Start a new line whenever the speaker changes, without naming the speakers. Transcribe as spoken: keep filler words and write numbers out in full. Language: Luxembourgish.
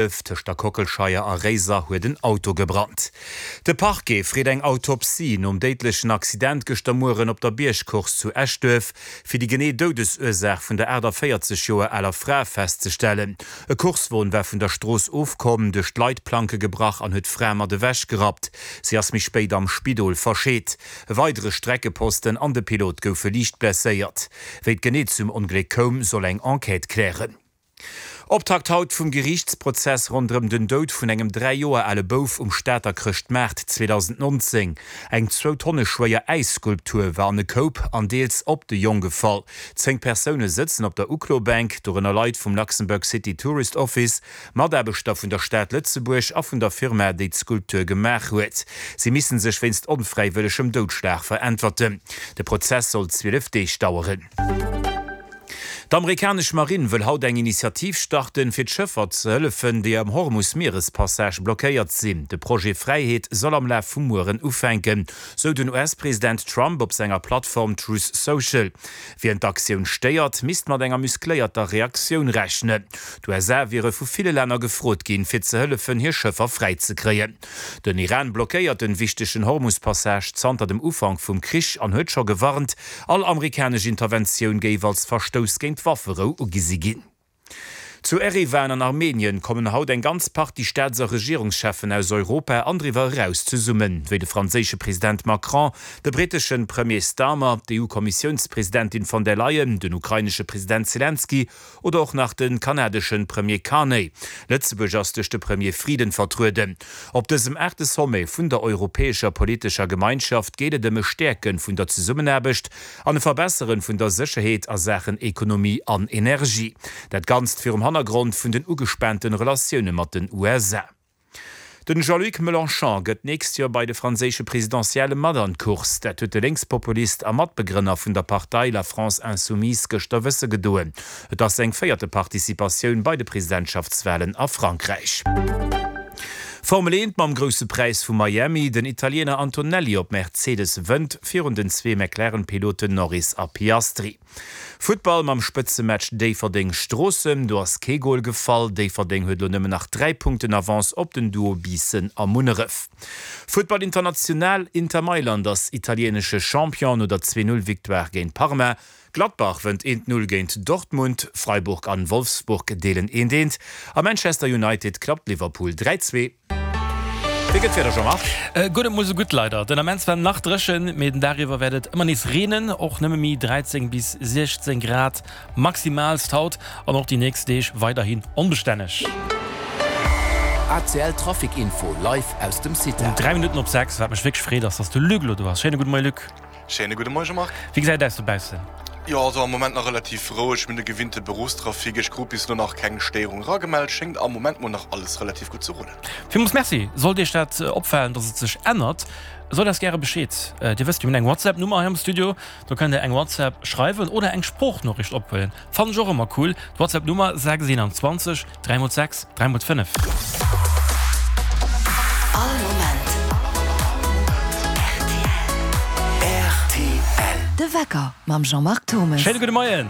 Tëscht der Kockelscheier a Réiser huet en Auto gebrannt. De Parquet freet eng Autopsie nom déidlechen Accident gëschter Mueren op der Biergcourse zu Eschduerf, fir déi genee Doudesursaach vun der aachtavéierzeg Joer aler Fra festzestellen. E Coursewon war vun der Strooss ofkomm, duerch d'Leitplanke gebrach an huet d'Fra mat ewech gerappt. Si ass méi spéit am Spidol verscheet. E weidere Streckeposten an de Pilot goufe liicht blesséiert. Wéi et genee zum Ongléck koum, soll eng Enquête klären. Optakt haut vum Geriichtsprozess ronderëm den Doud vun engem dräi Joer ale Bouf um Stater Chrëschtmaart zweedausendnonzéng. Eng zwou Tonne schwéier Äisskulptur war an e Koup an deels op de Jong gefall. Zéng Persoune sëtzen op der Uklobänk, dorënner Leit vum Luxembourg City Tourist Office, Mataarbechter vun der Stad Lëtzebuerg a vun der Firma, déi d'Skulptur gemaach huet. Si misste sech wéinst onfräiwëllegem Doudschlag veräntwerten. De Prozess soll zwielef Deeg daueren. D'amerikanesch Marinn wëll haut eng Initiativ starten, fir d'Schëffer ze hëllefen, déi am Hormus-Mierespassage blockéiert sinn. De Projet Fräiheet soll am Laf vum Mueren ufänken, sou den U S-President Trump op senger Plattform Truth Social. Wien d'Aktioun stéiert, misst mat enger muscléierter Reaktioun rechnen. D'U S A wiere vu ville Länner gefrot ginn, fir ze hëllefen, hir Schëffer fräi ze kréien. Den Iran blockéiert den wichtegen Hormus-Passage zanter dem Ufank vum Krich an huet scho gewarnt, all amerikanesch Interventioun géif als Verstouss géint d'Wafferou ugesi ginn. Zu Eriwan an Armenien kommen haut eng ganz Partie Staats a Regierungscheffen aus Europa an driwwer eraus zesummen, wéi de franséische President Macron, de brittesche Premier Starmer, d'EU-Kommissiounspresidentin von der Leyen, den ukrainesche President Selenskyj oder och nach de kanadesche Premier Carney. Lëtzebuerg ass duerch de Premier Frieden vertrueden. Op dësem aachte Sommet vun der Europäescher politescher Gemeinschaft geet et ëm e Stäerke vun der Zesummenaarbecht an e Verbessere vun der Sécherheet a Saachen Ekonomie an Energie. Dat Ganzt virum Hannergrond vun den ugespaanten Relatioune mat den U S A. Den Jean-Luc Mélenchon gëtt d'nächst Joer bei de franséische Presidentielle mat an d'Course. Dat huet de Lénkspopulist a Matbegrënner vun der Partei La France Insoumise gëschter wësse gedoen. Et ass seng véierte Participatioun bei de Presidentschaftswalen a Frankräich. Formel eent mam Grousse Präis vu Miami, Den Italiener Antonelli op Mercedes wënnt virun den zwee McLaren-Piloten Norris a Piastri. Futtball mam Spëtzematch Déifferdeng-Stroossen, do ass kee Gol gefall. Déifferdeng huet elo nëmmen nach dräi Punkten Avance op den Duo Biissen a Munneref. Futtball international, Inter Mailand ass italienesche Champion no der zwee-Null-Victoire géint Parma. Gladbach wënnt eent Null géint Dortmund, Freiburg an Wolfsburg deelen eent eent a Manchester United klappt Liverpool dräi zwee. Wéi gëtt d'Wieder, Jean-Marc?
Guer net mol sou gutt leider. Den Ament zwar nach dréchen, mee den Dag iwwer wäert et ëmmer nees reenen, och nëmme méi dräizéng bis siechzéng Grad maximaalst haut an och déi nächst Deeg weiderhin onbestänneg.
A C L Trafic Info live aus dem
Um
CITA.
dräi Minutten op sechs. Wat mech wierklech freet ass, dass de Luc elo do ass. Schéine gudde Moie Luc.
Schéine gudde Moie Jean-Marc.
Wéi gesäit et aus dobaussen?
Jo, also am Moment nach relativ roueg, mir hunn de gewinnte Beruffstrafic. Ech krut bis elo nach keng Stéierung eragemellt. Schéngt am Moment mol nach alles relativ gutt ze rullen.
Villmools Merci. Sollt Iech dat opfalen, dass et sech ännert, sot eis gäre Bescheed. Dir wësst, mir hunn eng WhatsApp-Nummer hei am Studio. Do kënnt Dir eng WhatsApp schreiwen oder eng Sproochnoriicht ophuelen. Fannen ech och ëmmer cool. D'WhatsApp-Nummer, sechs einundzwanzeg dräi mol sechs dräi mol fënnef.
All Moment R T L. De Wecker mam Jean-Marc Thomes.
Schéine gudde Moien.